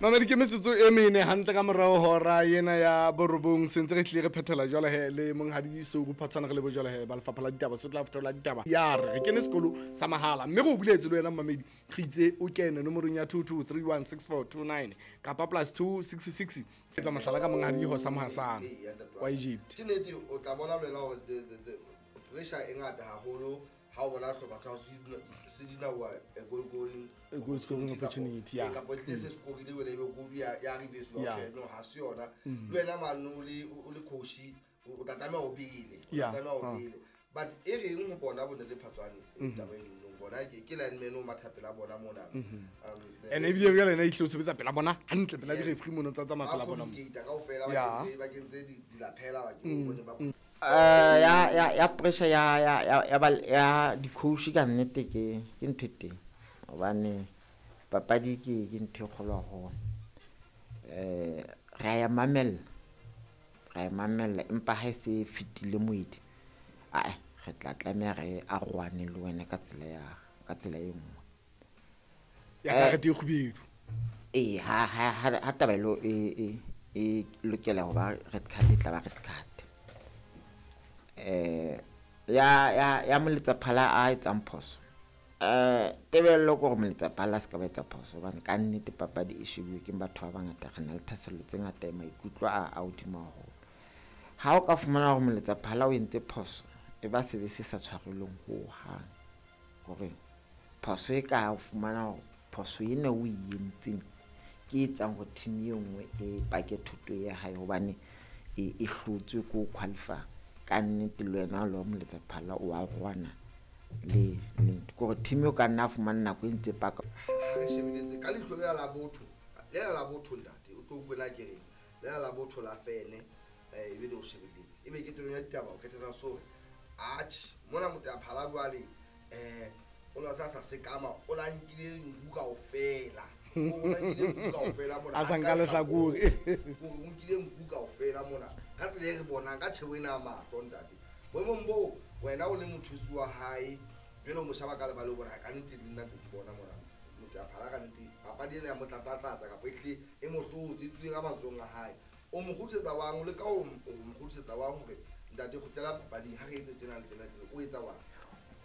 Mamedi, ke metsotso e mene hantle ka morao hora ena ya borobong. Sentse re tlile re phethela jwale he le monghadi Souru Phatshwana, re le bojwale he ba lefapha la ditaba, so tla fetola ditaba ya re re kene sekolo sa mahala, mme re o buletse le wena mamedi, re itse o kene nomorong ya 22316429 kapa +266. Etsa mohlala ka monghadi Hosa Mohasana Ee, ya ntate wa wa ka. Egypt. Ke nnete, o tla bona le wena hore the pressure e ngata haholo ha o bona sehlopha sa hao se dinawa a goal goaling A goal scoring opportunity, yeah. Kapa ehlile se scorile wena, ebe goal ya reverse wa tjhe, no, ha se yona. Le wena mane o le coach, o tla tlameha o bele, o tla tlameha o bele. But e reng ho bona bo ntate Phatswane, taba e nong bona ke lineman o matha pela bona mona. And ebile jwale ena e tlile o sebetsa pela bona hantle, pela di-referee mono tsa tsamaya ba pela bona mo. Communicate kaofela, ba kentse dilapela ba ke bone ba Ya pressure ya di-coach ka nnete ke ntho e teng, hobane papadi ke ntho e kgolo haholo. Re a ya mamella, ra e mamella, empa ha e se fetile moedi, ae, re tla tlameha re arohane le wena ka tsela e nngwe. Ya karete e kgubedu. Ee, ha taba elo e lokela ho ba red card, e tla ba red card. Ya moletsaphala a etsang phoso, tebello ke hore moletsaphala a se ka ba etsa phoso, hobane ka nnete papadi e shebuwe ke batho ba bangata, re na le thahasello tse ngata, maikutlo a hodimo haholo. Ha o ka fumana hore moletsaphala o entse phoso, e ba sebe se sa tshwarelweng hohang, hore phoso e ka o fumana hore phoso ena o e entseng ke e etsang hore team e nngwe e pake thuto ya hae, hobane e hlotswe ke ho qualify. Ka nnete le wena o le moletsaphala o arohana le ntho, ke hore team eo ka nna a fumana nako e ntse paka. Ha re shebeletse ka leihlo lela la botho, lela la botho, ntate, o tlo utlwe na ke reng, lela la botho la fene, ebe le o shebeletse, ebe ke teng ya ditaba, o qetela so atjhe mona motaphala jwale, o na sa sekama, o na nkile nku kaofela, o na nkile nku kaofela mona. A sa nka lehlakore. Hore o nkile nku kaofela mona ka tsela e re bonang ka tjhebo ena ya mahlo. Ntate, boemong boo wena o le mothusi wa hae jwale, o mo shaba ka lebale, o bona ka nnete le nna ntse ke bona mona motho ya phala, ka nnete papadi ena ya mo tlatlatlatsa kapa ehlile e mo hlotse, e tswile ka matsohong a hae. O mo kgutlisetsa wang, o leka o mo kgutlisetsa wang hore ntate, kgutlela papading, ha re etse tjena le tjena tjena, o etsa wang?